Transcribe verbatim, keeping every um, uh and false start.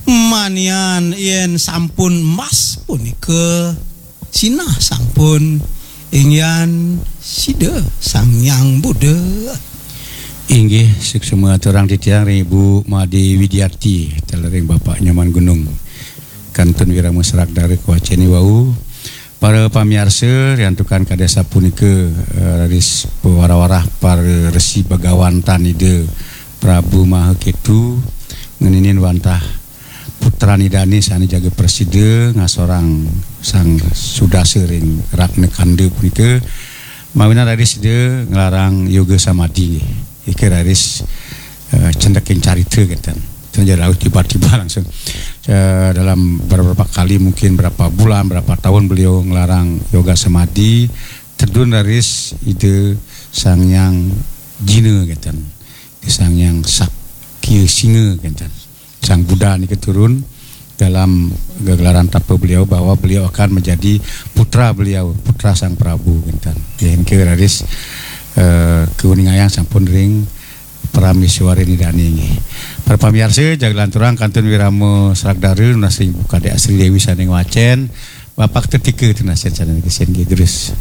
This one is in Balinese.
Manian yen sampun mas punika sinah sampun inggihan sida Sang Hyang Buddha. Inggih, suksma aturang titiang ring Ibu Made Widiati, taler ring Bapak Nyoman Gunung. Kantun wirama serak dara kawaceni wau. Para pamiarsa, riantukan kadi sapunika, eh, raris pawarah-warah para resi bagawantan Ida Prabu Maha Ketu ngeninin wantah putran Idane sane jaga prasida ngasorang Sang Sudasa ring Ratna Kanda punika, mawinan raris Ida nglarang yoga samadi nggih. Ika raris, eh, cendeking carita kenten. Ten ja rauh tiba-tiba langsung. Eh, dalam beberapa kali, mungkin berapa bulan, berapa tahun beliau nglarang yoga samadi, tedun raris Ida Sang Hyang Jina kenten. Ida Sang Hyang Sakya Singa kenten. Sang Buddha nika turun dalam gegelaran tapa beliau bahwa beliau akan menjadi putra beliau, putra Sang Prabu kenten. Nggih, nika raris, eh, kauningayang sampun ring Prameswari Idane nggih. Para pamiarsa, jaga lanturang kantun wirama serak dara nunas ring Ibu Kadek Sri Dewi sane ngwacen. Bapak Tetika tunas sane niki sin nggih, terus.